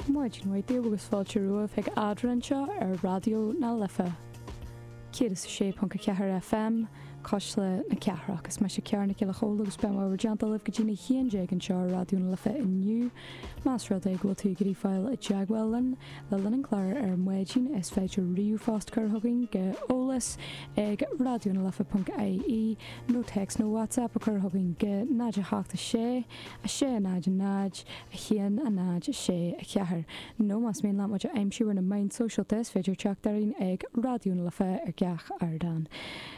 Maidin mhaith daoibh agus fáilte romhaibh chuig Eadrainn anseo ar Raidió na Life 106.4 FM, Cuisle na Cathrach. Is mise Ciara Nic Giolla Chóill agus beidh mé i bhur dteannta libh go dtí'n 11 anseo ar Raidió na Life inniu. Más rud é go bhfuil tú ag iarraidh fáil i dteagmháil linn le linn an chláir ar maidin is féidir ríomhphost cur chugainn go eolas ag raidionalife.ie nó téacs nó WhatsApp a chur chugainn go 0 8 6 6 0 0 1 0 6 4 nó más mian leat muid a aimsiú ar na meáin sóisialta is féidir teacht orainn ag Raidió na Life ar gach ardán.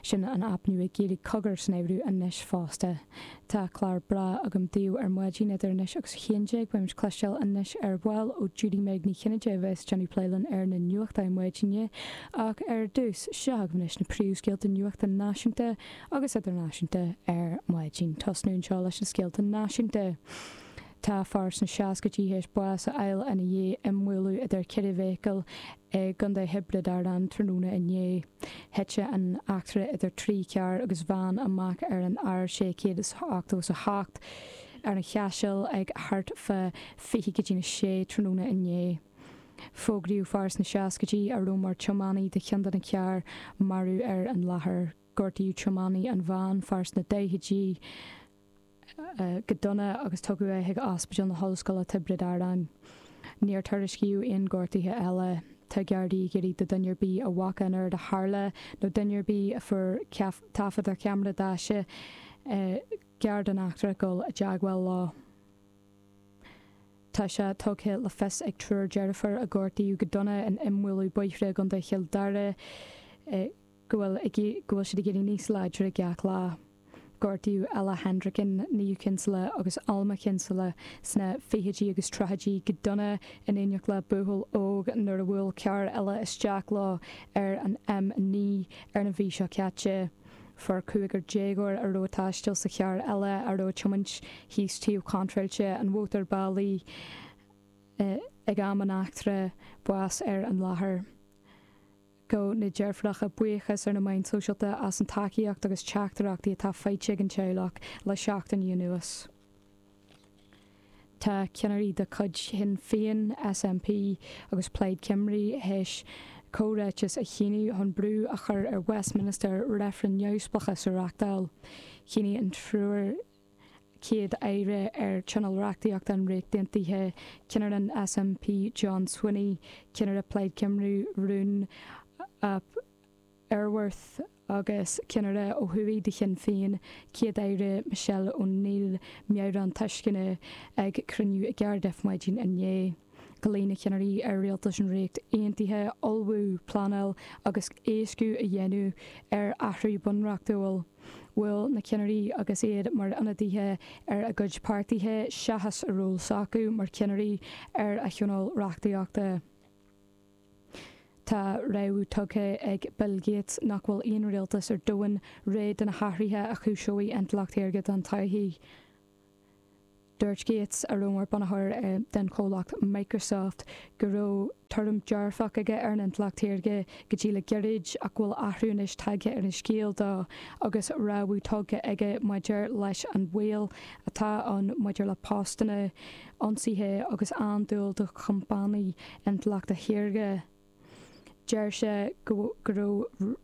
Sin an aip nua Gaeilge Cogar san áireamh anois fosta. Tá clár breá agam daoibh ar maidin idir anois agus 11. Beimid cloisteáil anois ar ball ó Judy Meg Ní Chinnéide a bheas ag déanamh plé linn ar na nuachtáin maidine. Ach ar dtús, seo agaibh anois na príomhscéalta nuachta náisiúnta agus idirnáisiúnta ar maidin. Tosnú anseo leis na scéalta náisiúnta. Tá fear sna seascaidí théis bás a fháil ina dhiaidh imbhualadh idir cheithre bheithicil i gContae Thiobraid Árann tráthnóna inné. Thit an eachtra idir trí charr agus veain amach ar an R688 ar an Chaiseal ag thart fá 20 go dtí'n 6 tráthnóna inné. Fógraíodh fear sna seascaidí a raibh mar tiománaí de cheann de na cairr marbh ar an láthair. Gortaíodh tiománaí an veain, fear sna daichidí, go dona agus tugadh é chuig Ospidéal na hOllscoile Tiobraid Árann. Níor tuairiscíodh aon ghortuithe eile. Tá Gardaí ag iarraidh do dhuine ar bith a bhfaca an rud a tharla nó duine ar bith a fuair taifead ar cheamara daise gar don eachtra dul i dteagmháil leo. Tá sé tugtha le fios ag triúr deirfiúr a gortaíodh go dona in imbhualadh bóithre i gContae Chill Dara go bhfuil go bhfuil siad ag éirí níos láidre gach lá. Gortaíodh Ella Hendricken, Niamh Kinsella agus Alma Kinsella sna fichidí agus tríochaidí go dona in éineacht le buachaill óg nuair a bhuail carr eile isteach leo ar an M9 ar an mhí seo caite. Fuair cúigear déagóir a raibh ag taisteal sa charr eile a raibh ag tiomáint thíos taobh contráilte an mhótarbhealaigh ag am an eachtra bás ar an láthair. Ghabh na deirfiúracha buíochas ar na meáin sóisialta as an tacaíocht agus teachtaireachtaí atá faighte ag an teaghlach le seachtainí anuas. Tá ceannairí de chuid Shinn Féin, SNP agus Plaid Cymru théis comhráiteas a shíniú chun brú a chur ar Westminster reifreann neamhspleáchais a reáchtáil. Shínigh an triúr Chéad-Aire ar Tionól Reachtaíochta an Ríocht Aontaithe, ceannaire an SNP John Swinney, ceannaire Plaid Cymru Rhun ap Iorwerth agus ceannaire ó thuaidh de Shinn Féin, Céad-Aire Michelle O'Neill, meabhrán tuisceana ag cruinniú i gCardiff maidin inné. Ghlaoigh na ceannairí ar rialtas an Ríocht Aontaithe ullmhú, pleanáil agus éascú a dhéanamh ar athrú bunreachtúil. Bhuail na ceannairí agus iad mar ionadaithe ar a gcuid páirtithe seachas a ról s'acu mar cheannairí ar a thionól reachtaíochta. Tá rabhadh tugtha ag Bill Gates nach bhfuil aon rialtas ar domhan réidh do na hathruithe a chúiseoidh intleacht shaorga don todhchaí. Dúirt Gates, a raibh mar bunaitheoir den chomhlacht Microsoft, go raibh tuairim dearfach aige ar an intleacht shaorga go dtí le gairid ach go bhfuil athrú anois tagtha ar an scéal dó agus rabhadh tugtha aige maidir leis an bhaol atá ann maidir le postanna, ionsaithe agus andúil do chompánaigh intleachta shaorga. Deir sé go raibh.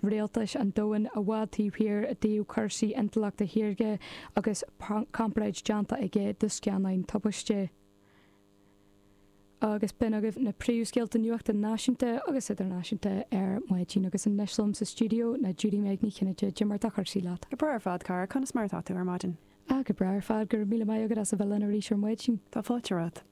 rialtais an domhain i bhfad taobh thiar i dtaobh cúrsaí intleachta shaorga agus comparáid déanta aige do scannáin tubaiste. Agus b'in agaibh na príomhscéalta nuachta náisiúnta agus idirnáisiúnta ar maidin. Agus anois liom sa stiúideo ná Judy Meg Ní Chinnéide. Cad é mar atá cúrsaí leat? Go breá ar fad, cara. Conas mar atá tú ar maidin? Ah, go breá ar fad. Go raibh míle maith agat as a bheith linn arís ar maidin. Tá fáilte romhat.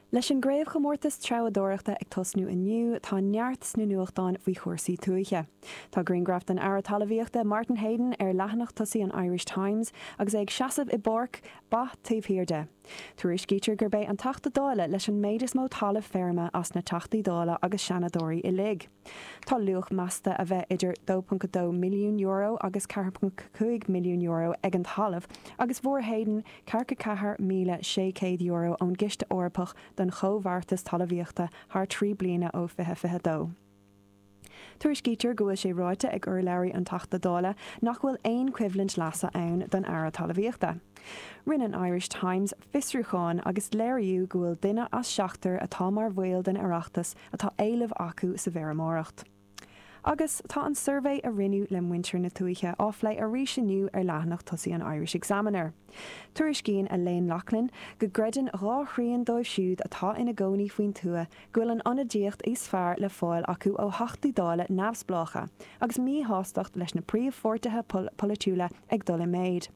Leis an gCraobhchomórtas Treabhadóireachta ag tosnú inniu, tá neart sna nuachtáin faoi chúrsaí tuaithe. Tá grianghraf den Aire Talmhaíochta Martin Heydon ar leathanach tosaigh an Irish Times agus é ag seasamh i bpáirc ba taobh thiar de. Tuairiscítear gurb é an Teachta Dála leis an méid is mó talamh feirme as na Teachtaí Dála agus Seanadóirí uilig. Tá luach measta a bheith idir €2.2 milliún agus €4.5 milliún ag an talamh agus fuair Heydon €44,600 ón gCiste Eorpach don Chomhbheartas Talmhaíochta thar 3 bliana ó 2022. Tuairiscítear go bhfuil sé ráite ag urlabhraí an Teachta Dála nach bhfuil aon choimhlint leasa ann don Aire Talmhaíochta. Rinne an Irish Times fiosrúchán agus léiríodh go bhfuil duine as seachtar atá mar bhaill den Oireachtas atá éileamh acu sa bhfeirmeoireacht. Agus tá an suirbhé a rinneadh le muintir na tuaithe á phlé arís inniu ar leathanach tosaigh an Irish Examiner. Tuairiscíonn Elaine Loughlin go gcreideann dhá thrian dóibh siúd atá ina gcónaí faoin tuath go bhfuil an ionadaíocht is fearr le fáil acu ó Theachtaí Dála neamhspleácha agus míshástacht leis na príomhpháirtithe polaitiúla ag dul i méid.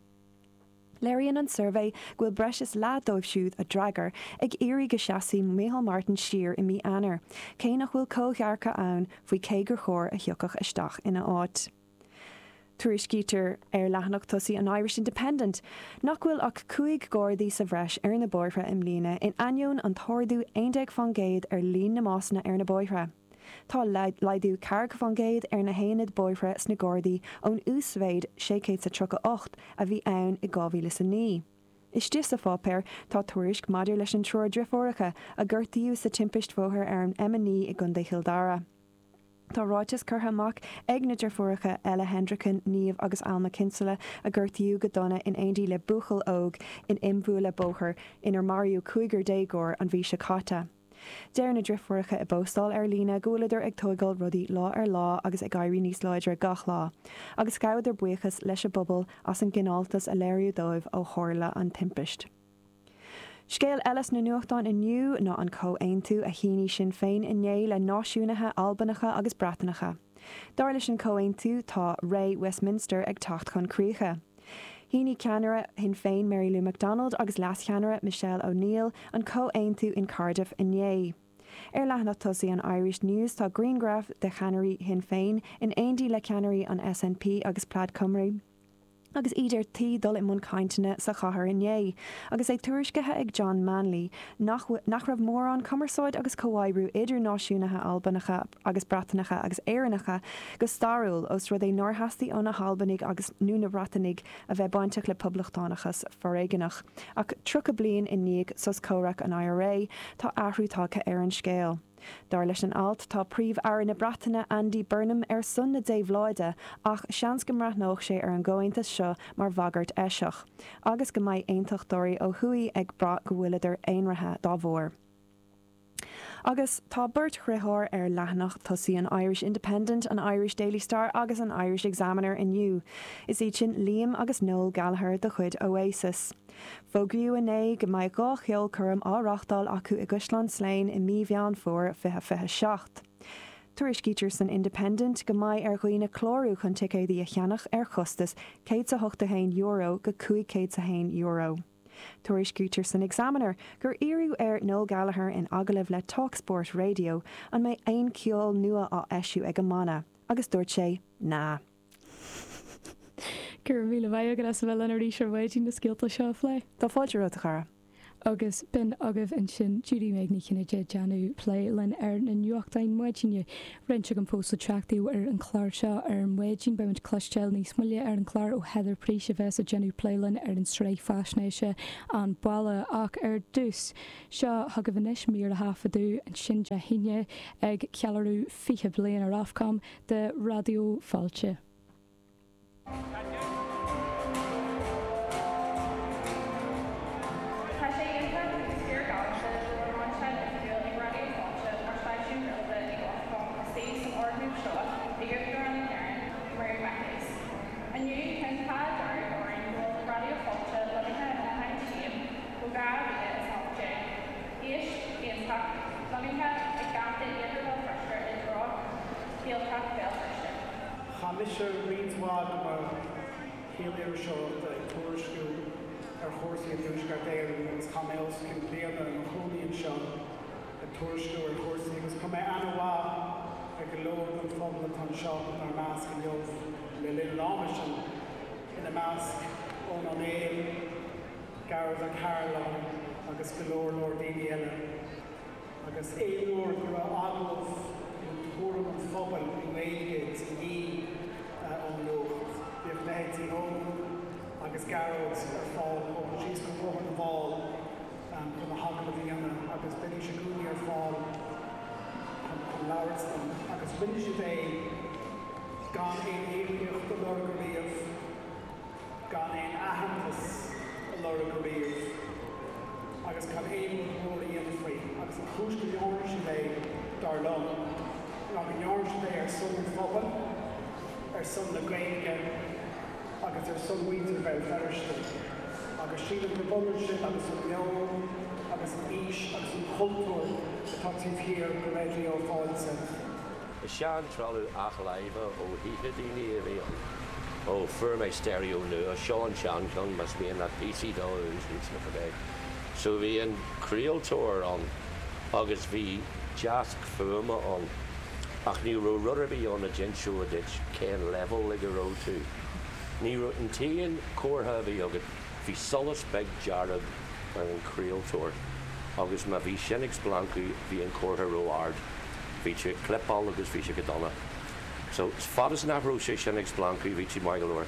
Léiríonn an suirbhé go bhfuil breis is leath dóibh siúd a d'fhreagair ag iarraidh go seasfaidh Micheál Martin siar i mí Eanáir, cé nach bhfuil comhdhearcadh ann faoi cé gur chóir a thiocfadh isteach ina áit. Tuairiscítear ar leathanach tosaigh an Irish Independent nach bhfuil ach 5 Ghardaí sa bhreis ar na bóithre i mbliana in ainneoin an t-ardú 11% ar líon na mbásanna ar na bóithre. Tá laghdú 40% ar na haonaid bóithre sna Gardaí ón uasmhéid 638 a bhí ann i 2009. Istigh sa pháipéar tá tuairisc maidir leis an triúr driofúracha a gortaíodh sa timpist bhóthair ar an M9 i gContae Chill Dara. Tá ráiteas curtha amach ag na driofúracha Ella Hendricken, Niamh agus Alma Kinsella a gortaíodh go dona in éindí le buachaill óg in imbhualadh bóthair inar maraíodh cúigear déagóir an mhí seo caite. Deir na driofúracha i bpostáil ar líne go bhfuileadar ag tóigeáil rudaí lá ar lá agus ag éirí níos láidre gach lá, agus ghabhadar buíochas leis an bpobal as an gcineáltas a léiríodh dóibh ó tharla an timpist. Scéal eile sna nuachtáin inniu ná an comhaontú a shínigh Sinn Féin inné le náisiúnaithe Albanacha agus Breatanacha. Dar leis an chomhaontú tá ré Westminster ag teacht chun críche. Shínigh ceannaire Shinn Féin Mary Lou McDonald agus leascheannaire Michelle O'Neill an comhaontú in Cardiff inné. Ar leathanach tosaigh an Irish News tá grianghraf de cheannairí Shinn Féin in éindí le ceannairí an SNP agus Plaid Cymru agus iad ar tí dul i mbun cainteanna sa chathair inné agus é tuairiscithe ag John Manley nach nach raibh mórán cumarsáid agus comhoibriú idir náisiúnaithe Albanacha agus Breatanacha agus Éireannacha go stairiúil ós rud é nár theastaigh ó na hAlbanaigh agus nó na Breatanaigh a bheith bainteach le poblachtánachas foréigeanach. Ach 30 bliain i ndiaidh sos comhraic an IRA tá athrú tagtha ar an scéal. Dar leis an alt tá Príomh-Aire na Breataine Andy Burnham ar son na déabhláide ach seans go mbreathnódh sé ar an gcomhaontas seo mar bhagairt eiseach agus go mbeidh aontachtóirí ó thuaidh ag brath go bhfuileadar aonraithe dá bharr. Agus tá beirt dhriotháir ar leathanach tosaigh an Irish Independent, an Irish Daily Star agus an Irish Examiner inniu. Is iad sin Liam agus Noel Gallagher de chuid Oasis. Fógraíodh inné go mbeidh 2 cheolchoirm á reáchtáil acu i gCaisleán Slane i mí Mheán Fómhair 2027. Tuairiscítear san Independent go mbeidh ar dhaoine clárú chun ticéadaí a cheannach ar chostas €181 go €501. Tuairiscítear san Examiner gur iarradh ar Noel Gallagher in agallamh le talkSPORT Radio an mbeidh aon cheol nua á eisiú ag an mbanna agus dúirt sé 'Nah'. Go raibh míle maith agat as a bheith linn arís ar maidin na scéalta seo a phlé. Tá fáilte romhat, a chara. Agus b'in agaibh ansin Judy Meg Ní Chinnéide ag déanamh plé linn ar na nuachtáin maidine. Roinnt agam fós le teacht daoibh ar an chlár seo ar maidin. Beidh muid ag cloisteáil níos moille ar an chlár ó Heather Preece a bheas ag déanamh plé linn ar an tsraith faisnéise An Baile. Ach ar dtús, seo chugaibh anois mír a thaifeadadh ansin Dé hAoine ag ceiliúradh 20 bliain ar Ofcom de Raidió Fáilte. Tá sé iontach agus fíor galánta go bhfuil lainseáil oifigiúil ag Raidió Fáilte mar stáisiún craolta ag Ofcom istigh san fhoirgneamh seo ag Uachtarán na hÉireann, Mary McAleese. Inniu tá an t-ádh dearg orainn go bhfuil Raidió Fáilte lonnaithe ina hInis Féin ó 2018. Áis iontach, lonnaithe ag geata Iarthar Bhéal Feirste i dtreo Ghaeltacht Bhéal Feirste. Chaith mise roinnt mhaith de mo shaol iriseoireachta ag tuairisciú ar chúrsaí i dTuaisceart Éireann agus chaith mé os cionn bliana i mo chónaí anseo ag tuairisciú ar chúrsaí agus chuir mé aithne mhaith ar go leor den phobal atá anseo inár measc inniu le linn an ama sin, ina measc Eoin Ó Néill, Gearóid Ó Cairealláin agus go leor leor daoine eile. Agus aon uair go raibh agallamh nó tuairim an phobail i nGaeilge de dhíth ón Nuacht, bhíodh leithéidí Eoin agus Gearóid ar fáil ó síos go Bóthar na bhFál chun na hagallaimh a dhéanamh agus bheidís i gcónaí ar fáil chun labhairt linn. Agus. rinne siad é gan aon íocaíocht a lorg ariamh, gan aon aitheantas a lorg ariamh agus gan aon rud mór a dhéanamh faoi. Agus an chúis go ndearna siad é, dar liom, ná go ndearna siad é ar son an phobail, ar son na Gaeilge agus ar son mhuintir Bhéal Feirste. Agus sílim gurb ionann sin agus an meon agus an fhís agus an cultúr atá taobh thiar de Raidió Fáilte. Is sean-trealamh athláimhe ó thithe daoine a bhí ann. Ó, fuair mé stereo nua, seo an seancheann, más mian leat píosaí dó a úsáid nó cibé. So bhí an craoltóir ann agus bhí deasc fuaime ann ach ní raibh rud ar bith ann a d'inseodh duit cén leibhéal ag a raibh tú. Ní raibh, an t-aon chomhartha a bhí agat, bhí solas beag dearg ar an chraoltóir agus má bhí sin ag splancadh bhí an comhartha ró-ard. Bhí tú ag clipeáil agus bhí sé go dona. So, fad is nach raibh sé sin ag splancadh bhí tú maith go leor.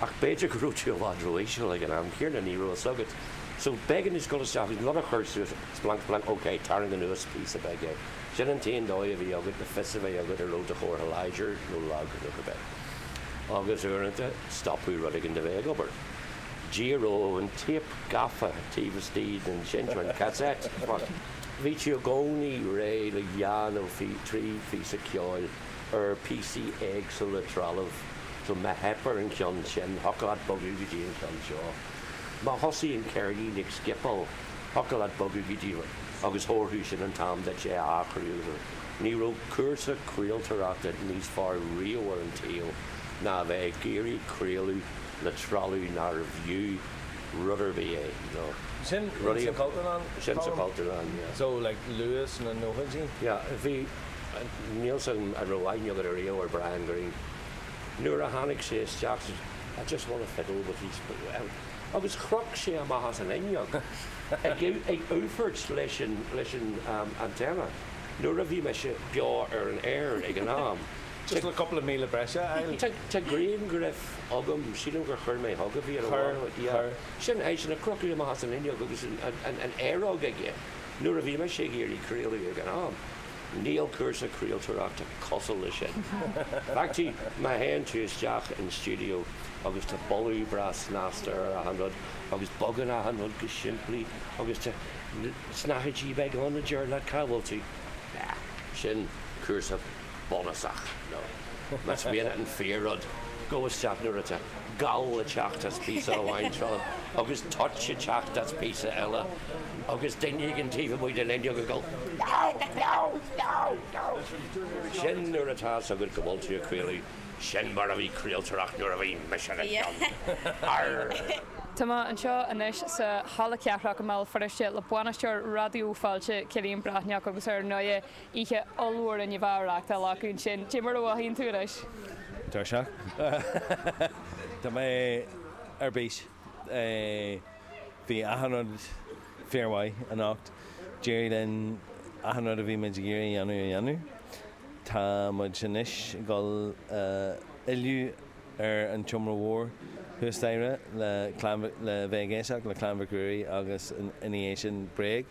Ach b'fhéidir go raibh tú i bhfad ró-íseal ag an am céanna, ní raibh fhios agat. So, b'éigean duit dul isteach agus an rud a chur suas, splanc splanc, ok, tarraing anuas píosa beag é. Sin an t-aon dóigh a bhí agat le fios a bheith agat an raibh do chomhartha láidir nó lag nó cibé. Agus uaireanta, stopadh rud éigin de bheith ag obair. D'éireodh an téip gafa taobh istigh den seinnteoir, an cassette. Bhí tú i gcónaí réidh le dhá nó trí phíosa ceoil ar phíosaí éagsúla trealaimh so má theip ar an cheann sin, thiocfadh leat bogadh go dtí an ceann seo. Má thosaigh an ceirnín ag scipeáil, thiocfadh leat bogadh go dtí agus thabharfadh sin an t-am duit é a athrú agus ní raibh cúrsa craoltóireachta níos fearr riamh ar an tsaol ná a bheith ag iarraidh craoladh le trealamh nárbh fhiú rud ar bith é nó Sin rudaí sa Chultúrlann? Sin sa Chultúrlann, yeah. So like luath sna nóchaidí? Yeah, bhí, níl 's agam an raibh aithne agat ariamh ar Brian Greene. Nuair a tháinig sé isteach, I just want to fiddle with these, agus chroch sé amach as an fhuinneog ag ag úfairt leis an leis an antenna nuair a bhí mise beo ar an aer ag an am. Just le cúpla míle breise a fháil. Tá tá grianghraf agam, sílim gur chuir mé chugaibh iad a Chuir, yeah. chuir. Sin eisean ag crochadh amach as an fhuinneog agus an aeróg aige nuair a bhí mise ag iarraidh craoladh ag an am. Níl cúrsa craoltóireachta cosúil leis sin. Actually, má théann tú isteach in stiúideo agus tá boladh breá snasta ar achan rud agus bogann achan rud go simplí agus tá snáthaidí beaga ann a deir leat cá bhfuil tú. Sin cúrsa bunúsach nó más mian leat an fíor-rud, gabh isteach nuair atá gal ag teacht as píosa amháin trealaimh agus toit ag teacht as píosa eile agus duine éigin taobh amuigh den fhuinneog ag dul No! No! No! No! Sin nuair atá fhios agat go bhfuil tú ag craoladh, sin mar a bhí craoltóireacht nuair a bhí mise ina cheann. Arr! Tá mé anseo anois sa Halla Cathrach i mBéal Feirste le bainisteoir Raidió Fáilte, Cillian Breathnach agus ar ndóigh Oíche ollmhór inniu á reáchtáil acu ansin. Cé mar a mhothaíonn tú anois? Tuirseach. Tá mé ar bís. Bhí achan rud fíormhaith anocht. D'éirigh linn achan rud a bhí muid ag iarraidh a dhéanamh a dhéanamh. Tá muid anois ag dul fhilleadh ar an tseomra mhór thuas staighre le le bheith ag éisteacht le Clann Mhic Ruairí agus ina dhiaidh sin Bréag.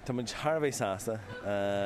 Tá muid thar a bheith sásta.